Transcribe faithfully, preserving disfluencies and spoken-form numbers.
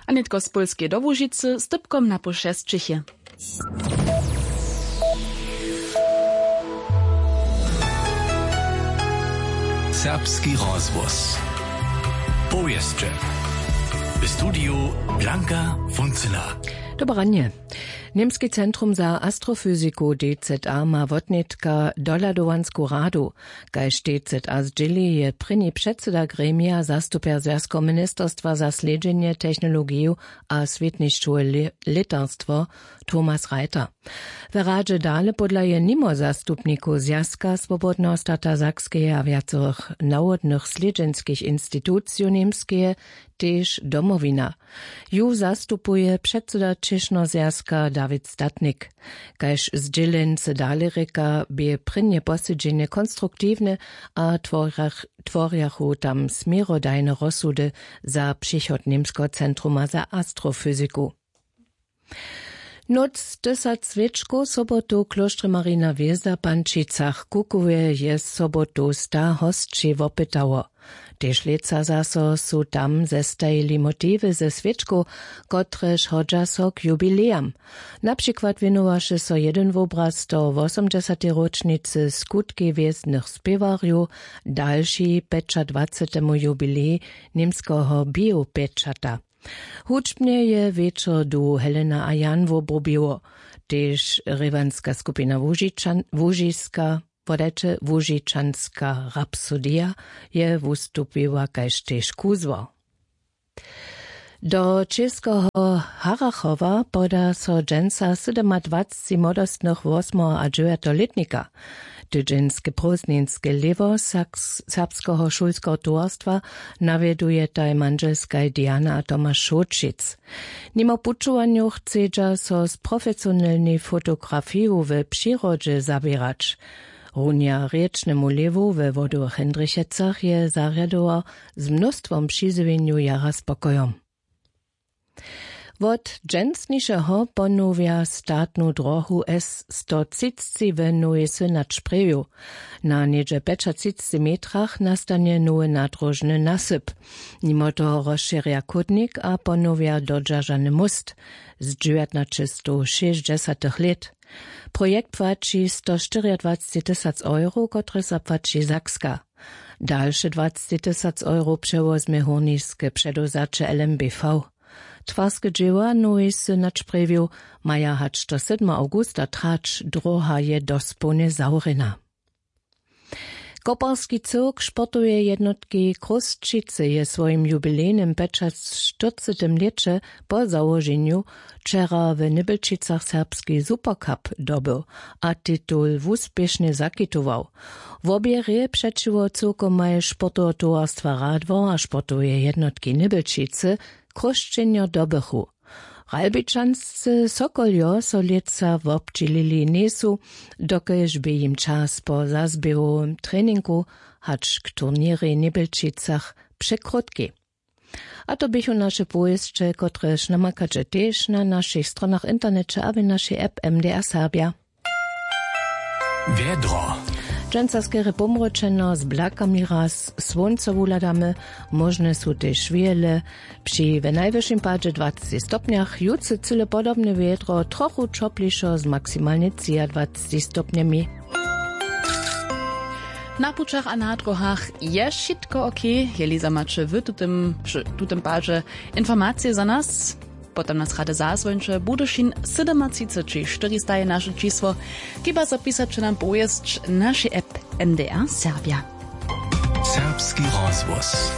A nětko z Pólskeje do Łužicy z dypkom na poł šesćich je. Serbski rozhłos. Powěsće. W studiju Blanka Funcyna. Dobre ranje. Němski centrum za astrofyziku, D Z A, ma wotnětka dohladowansku radu. Kaž D Z A zdźěli, je prěni předsyda gremija zastupjer Zwjazkeho ministerstwa za slědźenje, technologiju a swětnišćowe lě-, lětarstwo Thomas Reiter. We radźe dale podlaje nimo zastupnikow Zwjazka swobodneho stata Sakskeje a wjacorych nawodnych slědźenskich institucijow Němskeje tež Domowina. Ju zastupuje předsyda Čěšnoho zwjazka Dawid Statnik. Kaž zdźěleńcy dale rěka, bě prěnje posedźenje konstruktiwne a tworjach-, tworjachu tam směrodajne rozsudy za přichod Němskeho centruma za astrofyziku. Nóc tysac swěčkow sobotu w klóštrje Marina hwězda w Pančicach. W Kukowje je sobotu sta hosći wopytało. Tež lětsa zaso su tam zestajili motiwy ze swěčkow, kotrež hodźa so k jubilejam. Na přikład wěnowaše so jedyn wobraz do wosomdźesatej róčnicy skutkej hwězdnych spěwarjow, dalši pjećadwacetemu jubilej němskeho biopečata. Hudźbnje je wječor duhu Helena a Jan wobrubiło. Tež rěwanska skupina Łužičan-, Łužiska, wodajće Łužičanska rapsodija, je wustupiła kaž tež kuzło. Do Čěskeho Harachowa poda so dźensa sydomadwacci młodostnych wosmeho a dźewjateho lětnika. Tydźenske prózdninske lěhwo Saks-, Serbskeho šulskeho towarstwa nawjedujetaj mandźelskaj Diana a Tomaš Šołćic. Nimo pućowanjow chcedźa so z profesionelnej fotografiju w přirodźe zaběrać. Runja rěčnemu lěhwu we Wodowych Hindrichecach je zarjadował z mnóstwom přizjewjenjow jara spokojom. Wot dźensnišeho ponowja statnu drohu S sto třicci w Nowej Synać Sprjewju. Na něhdźe pjećatřicci metrach nastanje nowy nadróžny nasyp. Nimo toho rozšěrja chódnik a ponowja dodźeržany móst z dźewjatnaćestowšěsćdźesatych lět. Projekt płaći sto štyriadwacci tysac euro, kotrež zapłaći Sakska. Dalše dwacci tysac euro přewozmje hórniske předewzaće L M B V. Twarske dźěła Nowej Synać Sprjewju maja hač do sydma awgusta trać, dróha je dospołnje zawrjena. Koperski cyrk sportoweje jednotki Chrósćicy je w swojim jubilejnym pjećaštyrcetym lěće po załoženju wčera w Nybjelčicach serbski Supercup dobył a titul wuspěšnje zakitował. Wobě hrě přećiwo cyłkomaj sportoweho towarstwa Radwor a sportoweje jednotki Nybjelčicy chrósćenjo dobychu. Ralbičanscy Sokoljo so lětsa wobdźělili njejsu, dokelž bě jim čas po zazběhowym treningu hač k turněrej w Nybjelčicach překrótki. A to běchu naše powěsće, kotrež namakaće tež na našich stronach w interneće a w našej app M D R Serbja. Wjedro. Dźensa skerje pomročeno z blakami, raz słónco wuhladamy, móžne su tež wěle při w najwyšim padźe dwacci stopnjach. Jutře cyle podobne wjedro, trochu ćoplišo z maksimalnje třiadwacci stopnjemi. Na pućach a na dróhach je wšitko ok. Jeli za maće w tutym, w tutym padźe informacije za nas, potom nas rady zazwońće. Budyšin sydomatřiceći štyrista je naše čisło. Hiba zapisać nam powěsć našej app M D R Serbja. Serbski rozhłos.